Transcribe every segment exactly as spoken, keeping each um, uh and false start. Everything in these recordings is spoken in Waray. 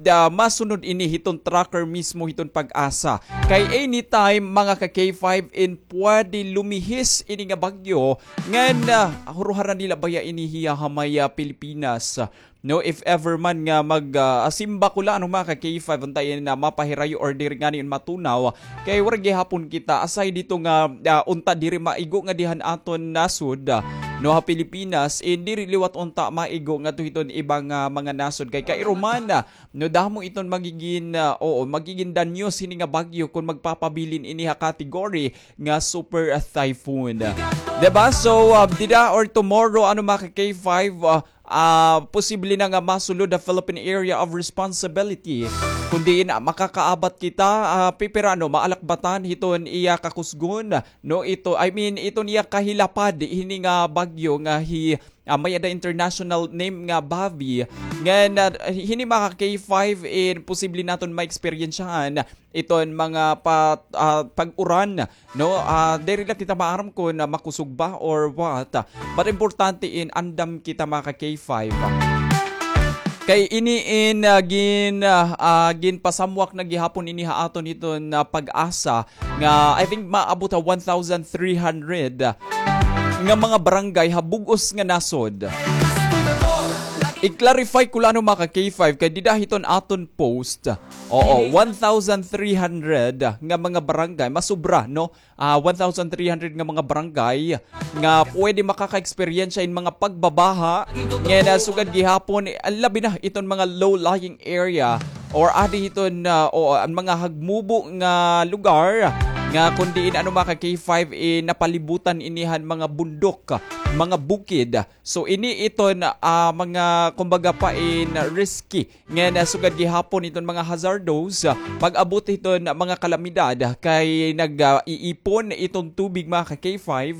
ah, masunod ini hiton tracker mismo hiton PAGASA. Kay anytime, mga ka K five, in pwede lumihis ini nga bagyo, ngan, ah, huruharan nila baya ini hiya ha may, ah, Pilipinas. No, if ever man nga mag, ah, asimba ko la, ano, mga ka K five, unta ini na mapahirayo or diri ngani matunaw, kay waray gihapon kita, aside dito nga, ah, unta diri maigo nga dihan aton nasod, ah, no, ha Pilipinas, eh, diri liwat unta maigo nga to hiton ibang, ah, mga nasod, kay kairuman, ah, no, damo iton magigin, ah, oo, magigin danyo sini nga bagyo kung magpapabilin ini ha category nga super, ah, typhoon. Diba? So, ah, dida or tomorrow, ano, mga ka K five, ah, ah, posible na nga masulod ha Philippine Area of Responsibility. Kun diin, ah, makakaabat kita, ah, pipira, no, maalakbatan hiton iya kakusgon, no, ito, I mean, iton iya kahilapad, hini nga bagyo nga hi, ah, may-ada international name nga Bavi. Ngan, ah, hini, mga ka K five, in posible naton maeksperiensyahan iton mga pa-, ah, pag-uran, no? Ah, diri la kita maaram kun, ah, makusog ba or what. But importante in andam kita, mga ka K five. Kay ini in, ah, gin-, ah, ah, ginpasamwak na gihapon ini ha aton hiton, ah, PAGASA nga, I think, maabot ha one thousand three hundred nga mga barangay ha bug-os nga nasod. I-clarify ko la, ano, mga ka K five, kay dida hiton aton post, oo, one thousand three hundred nga mga barangay, masobra, no? Ah, one thousand three hundred nga mga barangay nga pwede makakaeksperyensya in mga pagbabaha. Ngan, ah, sugad gihapon, eh, labi na iton mga low-lying area or adi hiton, ah, o, an mga hagmubo nga lugar nga kun diin, ano, mga ka K five, eh, napalibutan ini han mga bundok, mga bukid. So, ini iton, ah, mga, kumbaga pa, in risky. Ngan, ah, sugad gihapon iton mga hazardous, ah, pag-abot hiton mga kalamidad kay nag, ah, iipon iton tubig, mga ka K five.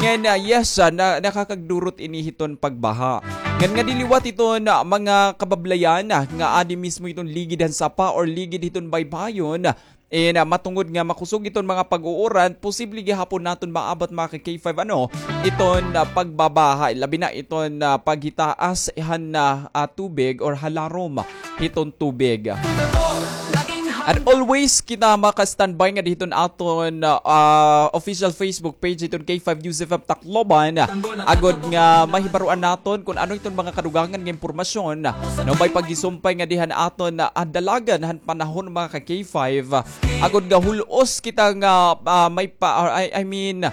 Ngan, ah, yes, ah, na, nakakagdurot ini hiton pagbaha. Ngan ngadi liwat iton, ah, mga kabablayan, ah, nga adi mismo iton ligid han sapa or ligid hiton baybayon, ah, in, ah, matungod nga makusog iton mga pag-uuran, posible gihapon naton maabat, mga ka K five, ano, iton, ah, pagbabaha, labi na iton, ah, paghitaas han, ah, ah, tubig or halarom hiton tubig. And always kita maka-standby nga dihiton aton, ah, official Facebook page hiton K five News F M Tacloban, agod nga mahibaroan naton kun ano iton mga kadugangan nga impormasyon, no, may paghisumpay nga dihan aton, ah, dalagan han panahon, mga ka K five. Agod nga hul-os kita nga, ah, may pa, ah, I, I mean,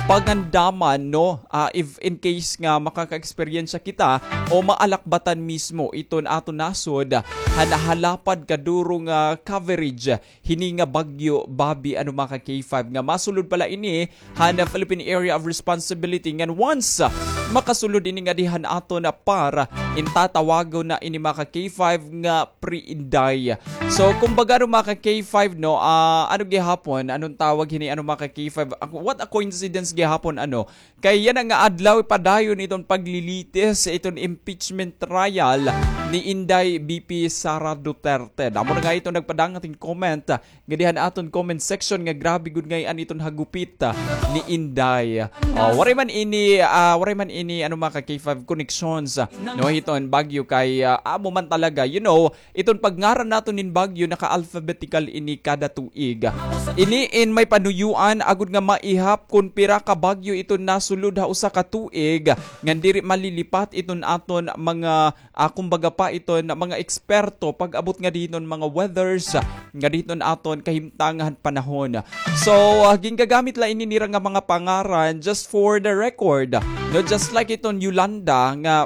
pangandaman, no? Ah, if in case nga makaka-eksperyensya kita o maalakbatan mismo iton aton nasod, han nahalapad kaduro nga coverage hini nga bagyo Babi, ano, mga ka K five, nga masulod pala ini han Philippine Area of Responsibility. Ngan once, ah, makasulod ini nga dihan aton, ah, PAR, in tatawagon na ini, mga ka K five, nga pre-Inday. So, kumbaga, ano, mga ka K five, no, ah, ano gihapon, anong tawag hini, ano, mga ka K five? Ah, what a coincidence gihapon, ano? Kay yana nga adlaw padayon iton paglilitis iton impeachment trial ni Inday V P Sara Duterte. Damo na nga iton nagpadangat hin comment, ah, nga dihan aton comment section nga grabe gud ngay-an iton hagupit, ah, ni Inday. Ah, waray man ini, ah, waray man ini, ano, mga ka K five, connections, ah, no, hiton bagyo kay, ah, amo man talaga, you know, iton pagngaran naton nin bagyo naka-alphabetical ini kada tuig. Ini in may panuyuan agod nga maihap kon pira ka bagyo iton nasulod ha usa ka tuig, ngan diri malilipat iton aton mga, ah, kumbaga pa iton mga eksperto pag-abot nga diton mga weathers, nga diton aton kahimtangan panahon. So, ah, gingagamit la ini nira nga mga pangaran just for the record. No, just like iton Yolanda nga,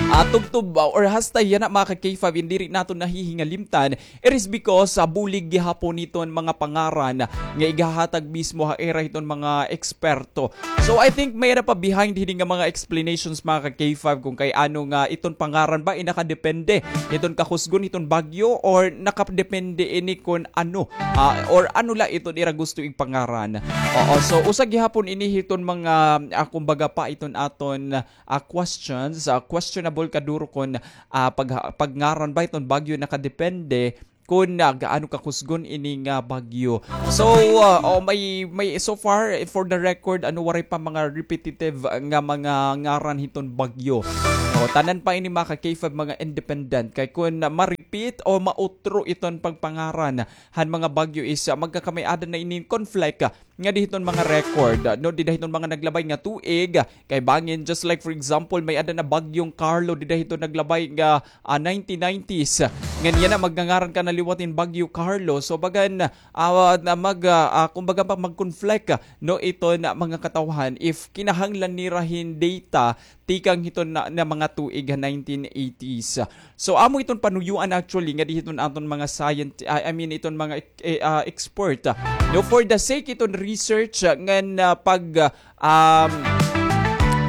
ah, tubtob, ah, or hasta yana, mga ka K five, in diri naton nahihingalimtan, it is because, ah, bulig gihapon iton mga pangaran nga igahatag mismo ha ira hiton mga eksperto. So, I think may-ada pa behind hini nga mga explanations, mga ka K five, kung kay ano nga iton pangaran ba in nakadepende hiton kakusgon hiton bagyo or nakadepende ini kon ano, ah, or ano la iton ira gusto igpangaran. Oo, so usa gihapon ini hiton mga, ah, kumbaga pa iton aton, ah, questions, ah, questionable kaduro kon, ah, pag-, pagngaran ba iton bagyo nakadepende kon, ah, gaano kakusgon ini nga bagyo. So, ah, oh, may, may, so far, eh, for the record, ano, waray pa mga repetitive, ah, nga mga ngaran hiton bagyo. Oh, tanan pa ini, mga ka K five, mga independent. Kay kon, ah, mari-, ma-repeat o mautro iton pagpangaran han mga bagyo is, ah, magkakamay-ada na ini hin conflict, ah, ngadi hiton mga record, ah, no, dida hiton mga naglabay nga tuig, ah, kay bangin, just like for example, may-ada na Bagyong Carlo dida hiton naglabay nga, ah, nineteen nineties. Ngan yana magngangaran ka na liwat hin Bagyo Carlo. So, bagan, ah, na mag, ah, ah, kumbaga pa, mag-conflict, ah, no, iton mga katawhan if kinahanglan nira hin data tikang hiton na, na mga tuig ha nineteen eighties. So, amo iton panuyuan actually ngadi hiton aton mga scient-, I, I mean, iton mga ek-, eh, ah, expert, ah, no, for the sake iton research, ah, ngan, ah, pag, ah, um,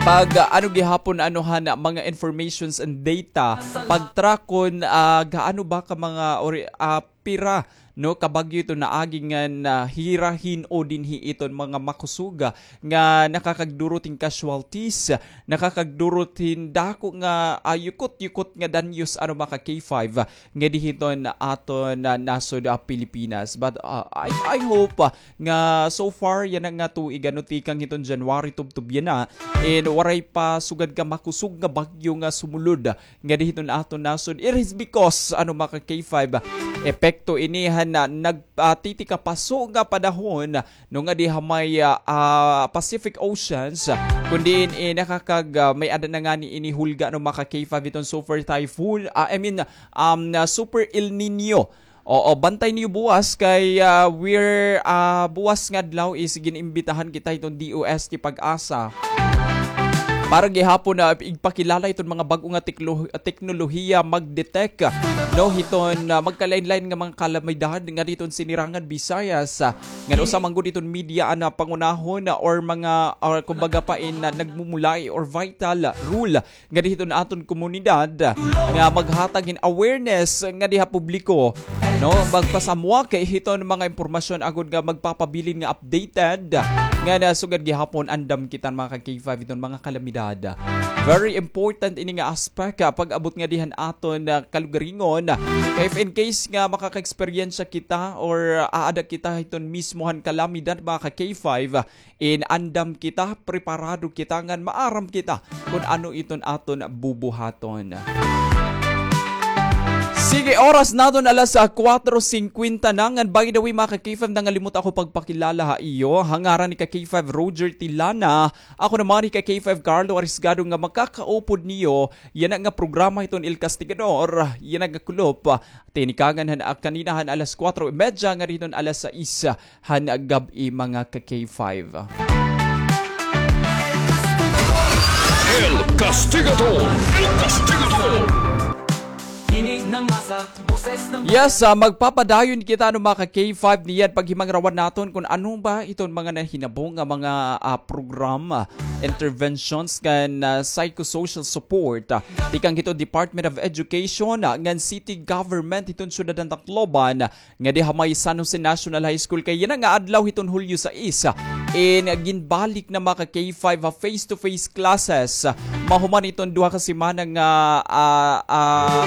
pag, ah, ano gihapon, ano han, mga informations and data, pagtrakon, ah, gaano ba ka mga ori-, ah, pira, no, ka bagyo iton naagi ngan, ah, hira hin-o dinhi iton mga makusog, ah, nga nakakagdurot hin casualties, nakakagdurot hin dako nga, ah, yukot-yukot nga danyos, ano, mga ka-K five, ah, ngadi hiton aton, ah, nasod, ah, Pilipinas. But, ah, I, I hope, ah, nga so far yana nga tuig, ano, tikang hiton January tubtob yana, and waray pa sugad ka makusog nga bagyo nga sumulod ngadi hiton aton nasod. It is because, ano, mga ka-K five, epekto ini han, ah, nag-, ah, titikapaso nga panahon, no, ngadi ha may, ah, ah, Pacific Oceans, kun diin, eh, nakakag-, ah, may-ada na ngani ini hulga, no, mga ka-K five, iton Super Typhoon, ah, I mean, um, na Super El Nino. Oo, bantay niyo buwas kay, ah, we're, ah, buwas nga adlaw is gin-imbitahan kita hiton D O S T PAGASA para gihapon na igpakilala iton mga bag-o nga teklo-, teknolohiya mag-detect, no, hiton, ah, magkalain-lain nga mga kalamidad ngadi hiton Sinirangan Visayas, ah, ngan usa man gud iton media an, ah, pangunahon, ah, or mga, or kumbaga pa in, ah, nagmumulay or vital role ngadi hiton aton komunidad nga maghatag hin awareness ngadi ha publiko, no? Magpasamwak hiton mga impormasyon agod nga magpapabilin nga updated nga na sugad gihapon andam kita, mga ka-K five, hiton mga kalamidad. Very important ini nga aspect, ah, pag-abot ngadi han aton, ah, kalugaringon. Kay if in case nga makaka-eksperyensya kita or aada kita hiton mismo han kalamidad, mga ka-K five, in andam kita, preparado kita, ngan maaram kita kun ano iton aton bubuhaton. Sige, oras naton alas, ah, kuwatro singkwenta na. Ngan by the way, mga ka-K five, nangalimot ako pagpakilala ha iyo. Ha ngaran ni ka-K five Roger Tilana, ako naman ni ka-K five Carlo Arisgado nga makakaupod niyo yana nga programa hiton El Castigador, yana nga kulop, ah, tinikangan han, ah, kanina han alas kuwatro y medya ngadi hiton alas sais han gab-i, mga ka-K five. El Castigador! El Castigador! Yes, ah, magpapadayon kita, ano, mga ka-K five, niyan paghimangrawan naton kun ano ba iton mga nahinabo nga mga, ah, program, ah, interventions ngan, ah, psychosocial support, ah, tikang hiton Department of Education, ah, ngan city government hiton syudad han Tacloban, ngadi ha may San Jose National High School kay yana nga adlaw hiton Hulyo sais. In ginbalik na, mga ka-K five, ha face-to-face classes. Mahuman iton duha ka semana nga, ah, ah,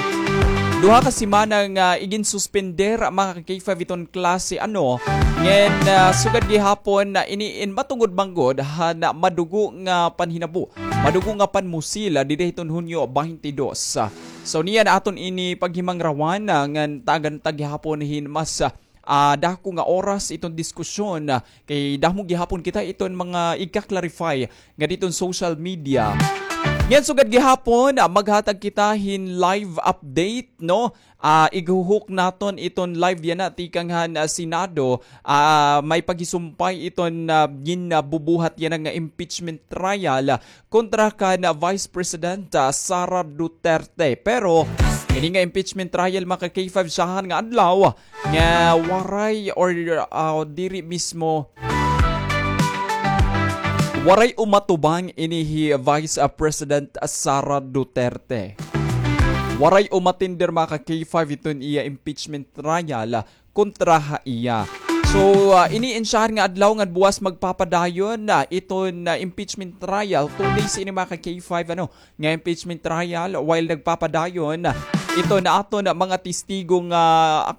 duha ka semana nga iginsuspender, mga ka-K five, iton klase, ano. Ngan, ah, sugad gihapon na ini in matungod man gud han madugo nga panhinabo, madugo nga panmusil, ah, dida hiton Hunyo baynte dos. So, niyan aton ini paghimangrawan, ah, ngan tagan ta gihapon hin mas, ah, dako nga oras iton diskusyon, ah, kay damo gihapon kita iton mga igka-clarify ngadi hiton social media. Ngan sugad gihapon, ah, maghatag kita hin live update, no? Ah, ighuhok naton iton live yana tikang han, ah, Senado, ah, may paghisumpay iton, ah, gin, ah, bubuhat yana nga impeachment trial, ah, kontra kan Vice President, ah, Sara Duterte. Pero ini nga impeachment trial, mga ka-K five, syahan nga adlaw nga waray or, ah, diri mismo, waray umatubang ini hi Vice, ah, President Sara Duterte. Waray umatender, mga ka-K five, iton iya impeachment trial kontra ha iya. So, ah, ini in syahan nga adlaw ngan buwas magpapadayon na iton, ah, impeachment trial. Two days ini, mga ka-K five, ano, nga impeachment trial, while nagpapadayon iton aton mga testigo nga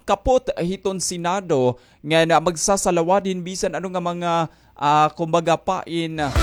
kapot hiton Senado nga na magsasalawad hin bisan ano nga mga, ah, kumbaga pa in, ah,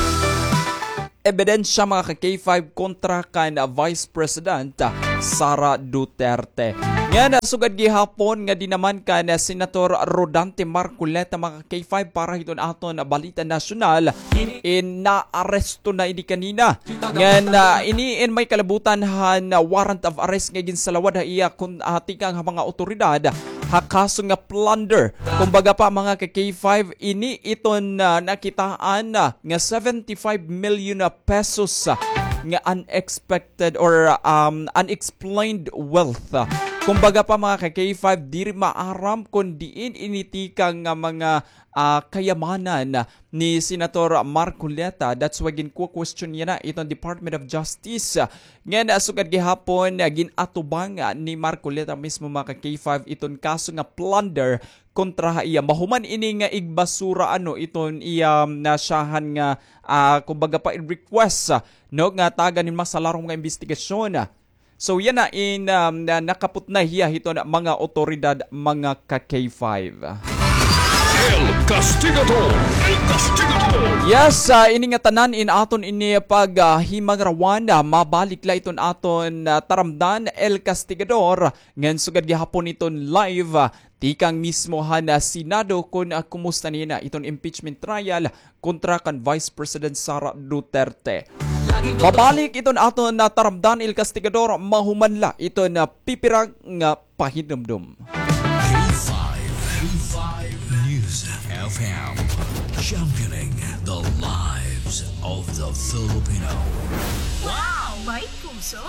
ebidensya, mga ka-K five, kontra kan Vice President Sara Duterte. Ngan, ah, sugad gihapon nga dinaman kan Senator Rodante Marcoleta, mga ka-K five, para hiton aton balita nasyonal, in naaresto na ini kanina. Ngan, ah, ini in may kalabutan han warrant of arrest nga ginsalawad ha iya kun, ah, tikang ha mga awtoridad ha kaso nga plunder. Kumbaga pa, mga ka-K five, ini iton, ah, nakitaan, ah, nga seventy-five million pesos, ah, nga unexpected or, um, unexplained wealth. Kumbaga pa, mga ka-K five, diri maaram kon diin ini tikang nga mga, ah, kayamanan ni Senator Marcoleta. That's why ginkukwestiyon niya na iton Department of Justice. Ngan, ah, sugad gihapon, ah, gin-atubang, ah, ni Marcoleta mismo, mga ka-K five, iton kaso nga plunder kontra ha iya. Mahuman ini nga igbasura, ano, iton iya nasyahan nga, ah, kumbaga pa, request, ah, no, nga tagan hin mas larong nga imbestigasyon. So, yana in, um, na, nakaputnay hiya hiton mga awtoridad, mga ka-K five. El Castigador! El Castigador! Yes, ah, ini nga tanan in aton ini pag, ah, himangarawan, ah, mabalik la iton aton, ah, taramdan, El Castigador. Ngan sugad gihapon iton live, ah, tikang mismo han, ah, Senado kon, ah, kumusta na iton impeachment trial kontra kan Vice President Sara Duterte. Mabalik iton aton, ah, taramdan, El Castigador, mahuman la iton, ah, pipira nga pahinumdom. K five, K five News F M, championing the lives of the Filipino. Wow! May puso!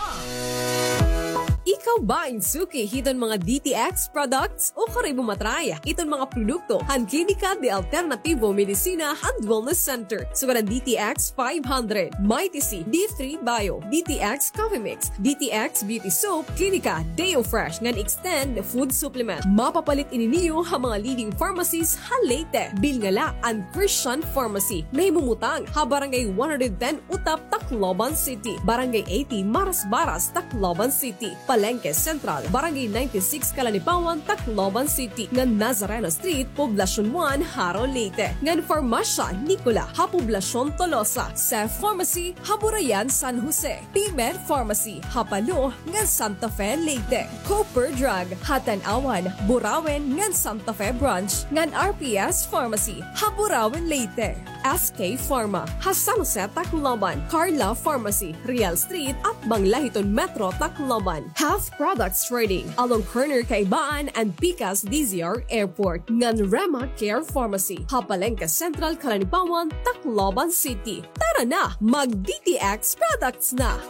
Ikaw ba in suki hiton mga D T X products? O karoy mo matry iton mga produkto han Klinika de Alternativo Medicina and Wellness Center, sugad han D T X five hundred, Mighty C, D three Bio, D T X Coffee Mix, D T X Beauty Soap, Klinika Deo Fresh ngan Extend Food Supplement. Mapapalit ini niyo ha mga leading pharmacies ha Leyte. Bilnga la an Christian Pharmacy, nahimumutang ha Barangay one hundred ten Utap, Tacloban City, Barangay eighty Marasbaras, Tacloban City, Palengke Central, Barangay ninety-six Calanipawan, Tacloban City, ngan Nazareno Street, Poblacion one, Jaro, Leyte, ngan Farmasya Nicola ha Poblacion Tolosa, Cef Pharmacy ha Burayan, San Jose, P-Med Pharmacy ha Palo ngan Santa Fe, Leyte, Cooper Drug ha Tanauan, Burauen ngan Santa Fe Branch, ngan R P S Pharmacy ha Burauen, Leyte. S K Pharma ha San Jose, Tacloban, Carla Pharmacy, Real Street, atbang la hiton Metro Tacloban, Health Products Trading along corner Kaibaan and Pikas D Z R Airport, ngan Rema Care Pharmacy ha Palengke Central, Calanipawan, Tacloban City. Tara na, mag D T X products na!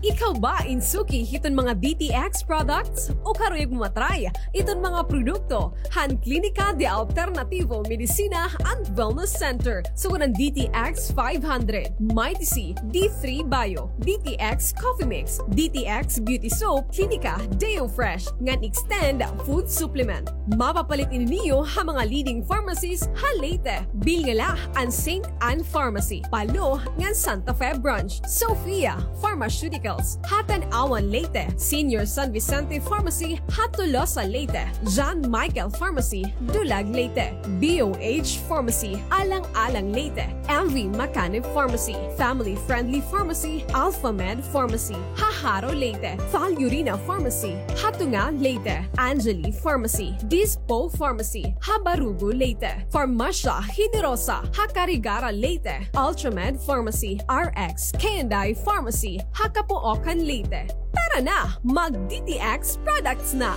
Ikaw ba in suki hiton mga D T X products? O karuyag mo matry iton mga produkto han Klinika de Alternativo Medicina and Wellness Center, sugad han D T X five hundred, Mighty C, D three Bio, D T X Coffee Mix, D T X Beauty Soap, Klinika Deo Fresh, ngan Extend Food Supplement. Mapapalit ini niyo ha mga leading pharmacies ha Leyte. Bilnga la an Saint Ann Pharmacy, Palo, ngan Santa Fe Branch, Sophia Pharmaceuticals ha Tanauan, Leyte, Senior San Vicente Pharmacy ha Tolosa, Leyte, John Michael Pharmacy, Dulag, Leyte, B O H Pharmacy, Alang-alang, Leyte, M V Macanib Pharmacy, Family Friendly Pharmacy, Alpha Med Pharmacy ha Jaro, Leyte, Falurina Pharmacy ha Tunga, Leyte, Angeli Pharmacy, Dispo Pharmacy ha Barugo, Leyte, Farmasya Generosa ha Carigara, Leyte, Ultramed Pharmacy, R X K and I Pharmacy ha Capoocan, Leyte. Tara na, mag D T X products na!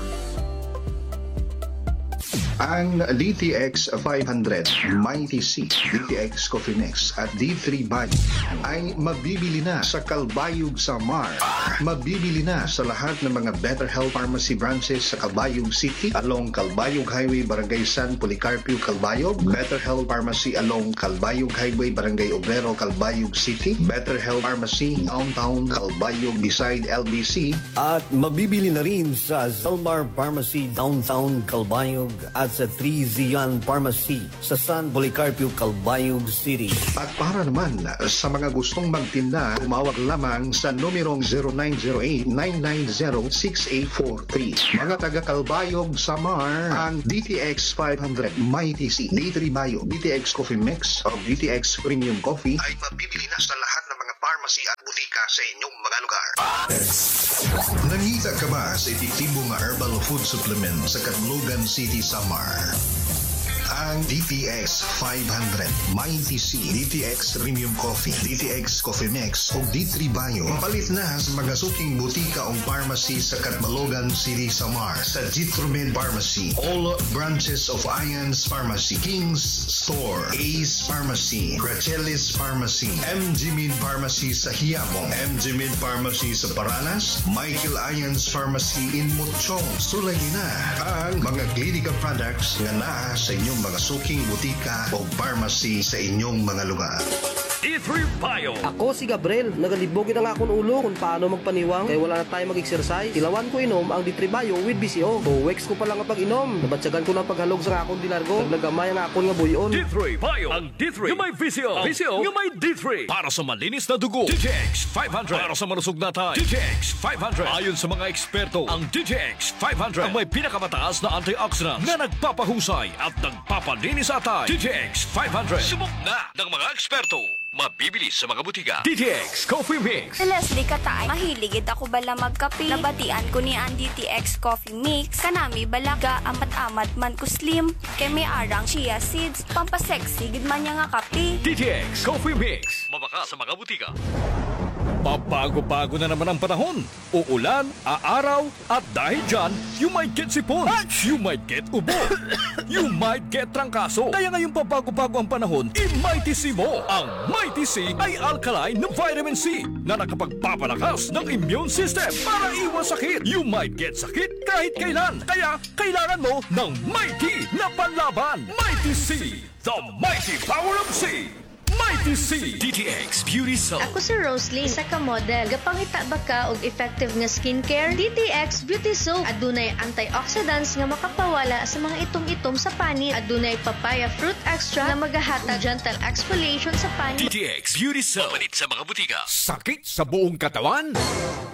Ang D T X five hundred, Mighty C, D T X Coffee Mix at D three Bio ay mabibili na sa Calbayog, Samar. Mabibili na sa lahat ng mga Better Health Pharmacy branches sa Calbayog City, along Calbayog Highway, Barangay San Policarpio, Calbayog. Better Health Pharmacy along Calbayog Highway, Barangay Obrero, Calbayog City. Better Health Pharmacy Downtown Calbayog beside L B C. At mabibili na rin sa Zalmar Pharmacy Downtown Calbayog at sa Three Zion Pharmacy sa San Policarpio, Calbayog City. At para naman sa mga gustong magtinda, tumawag lamang sa numerong zero nine zero eight, nine nine zero, six eight four three. Mga taga Calbayog, Samar, ang D T X five hundred, Mighty C, D three Bio, D T X Coffee Mix, o D T X Premium Coffee ay mabibili na sa lahat ng mga pharmacy at butika sa inyong mga lugar. Nangita ka ba sa epektibo nga herbal food supplement sa Catbalogan City, Samar? Ang D T X five hundred, Mighty C, D T X Premium Coffee, D T X Coffee Mix, ug D three Bio. Mapalit na sa mga suking butika o pharmacy sa Catbalogan City, Samar, sa Jitromed Pharmacy, all branches of Ian's Pharmacy, King's Store, Ace Pharmacy, Gracelis Pharmacy, M G Med Pharmacy sa Quiapo, M G Med Pharmacy sa Paranas, Michael Ian's Pharmacy in Mochong. Sulayi na ang mga Clinica products nga naa sa inyong mga suking butika o pharmacy sa inyong mga lugar. D three Bio. Ako si Gabriel. Nagalibog gid ang akon ulo kon paano magpaniwang kay wala na tayo mag-exercise. Tilawan ko inom ang D three Bio with V C O. Two weeks ko pa lang nga pag-inom, nabatyagan ko na ang paghalog sa akon dinargo. Naglagamay ang akon nga buy-on. D three Bio. Ang D three nga may V C O. Ang V C O nga may D three. Para sa malinis na dugo, D T X five hundred. Para sa malusog na atay, D T X five hundred. Ayon sa mga eksperto, ang D T X five hundred ang may pinakamataas na antioxidant na nagpapahusay at nagpapalinis sa atay. D T X five hundred. Subok na ng mga eksperto. Mabibili sa mga butika. D T X Coffee Mix. Si Leslie Kataay, mahilig gid ako bala magkape. Nabatian ko niya an D T X Coffee Mix. Kanami bala, gaamat-amat man ko slim. Kay may ara nga chia seeds. Pampasexy gid man niya nga kape. D T X Coffee Mix. Mabakal sa mga butika. Pabago-bago na naman ang panahon. Uulan, aaraw, at dahil dyan, you might get sipon. Ach! You might get ubo. You might get trangkaso. Kaya ngayong pabago-bago ang panahon, i-Mighty C mo. Ang Mighty C ay alkaline na vitamin C na nakapagpapalakas ng immune system para iwas sakit. You might get sakit kahit kailan. Kaya kailangan mo ng Mighty na panlaban. Mighty C, the mighty power of C. Mighty C. D T X Beauty Soap. Ako si Roslyn, isa ka model. Gapangita ba ka og effective nga skincare? D T X Beauty Soap. Adunay antioxidants nga makapawala sa mga itom-itom sa panit. Adunay papaya fruit extract nga magahatag gentle exfoliation sa panit. D T X Beauty Soap. Mapalit sa mga butika. Sakit sa buong katawan?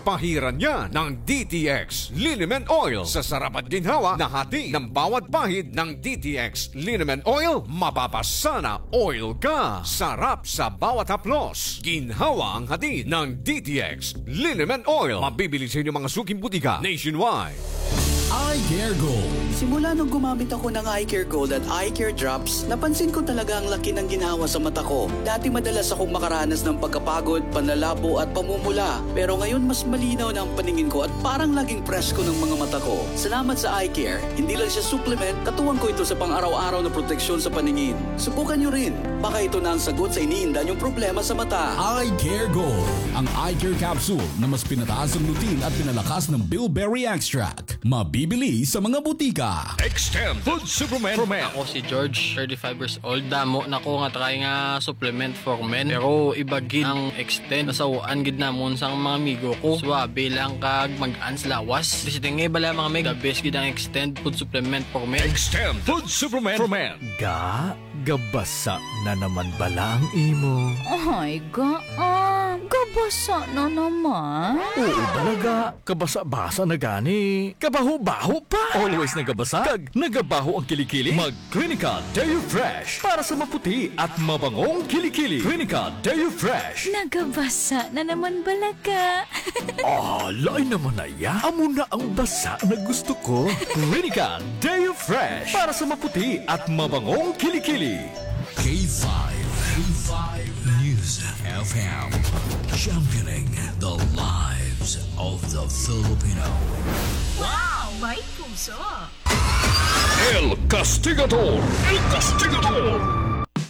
Pahiran niya ng D T X Liniment Oil. Sa sarap at ginhawa na hatid ng bawat pahid ng D T X Liniment Oil, mapapasana oil ka. Sarap sa bawat haplos. Ginhawa ang hatid ng D T X Liniment Oil. Mabibili sa inyong mga suking butika nationwide. Eye Care Gold. Simula nung gumamit ako ng Eye Care Gold at Eye Care Drops, napansin ko talaga ang laki ng ginhawa sa mata ko. Dati madalas akong makaranas ng pagkapagod, panlalabo at pamumula. Pero ngayon mas malinaw na ang paningin ko at parang laging presko ng mga mata ko. Salamat sa Eye Care. Hindi lang siya supplement, katuwang ko ito sa pang-araw-araw na proteksyon sa paningin. Subukan niyo rin. Baka ito na ang sagot sa iniinda niyong problema sa mata. Eye Care Gold, ang eye care capsule na mas pinataas ang lutein at pinalakas ng bilberry extract. Mabibili sa mga butika. Extend Food Supplement for Men. Ako si George, thirty-five years old. Damo na ko nga try nga supplement for men. Pero iba gid ang Extend. Nasaw-an gid namon sang mga amigo ko. Suwabe lang kag mag-an sa lawas. Basta nga bala mga mig, the best gid ang Extend Food Supplement for Men. Extend Food Supplement for Men. Ga, gabasa na naman bala ang imo? Ay, ga, ah, gabasa na naman? Oo, bala ga. Kabasa-basa na gani. Kabaho-baho pa. Always nagabasa. Kag nagabaho ang kilikili. Mag Clinica Deo Fresh para sa maputi at mabangong kilikili. Clinica Deo Fresh. Nagabasa na naman bala ga. Ah, lain naman na iya. Amo na ang basa na gusto ko. Clinica Deo Fresh para sa maputi at mabangong kilikili. K five, K five News F M, championing the lives of the Filipino. Wow! May puso! El Castigador. El Castigador.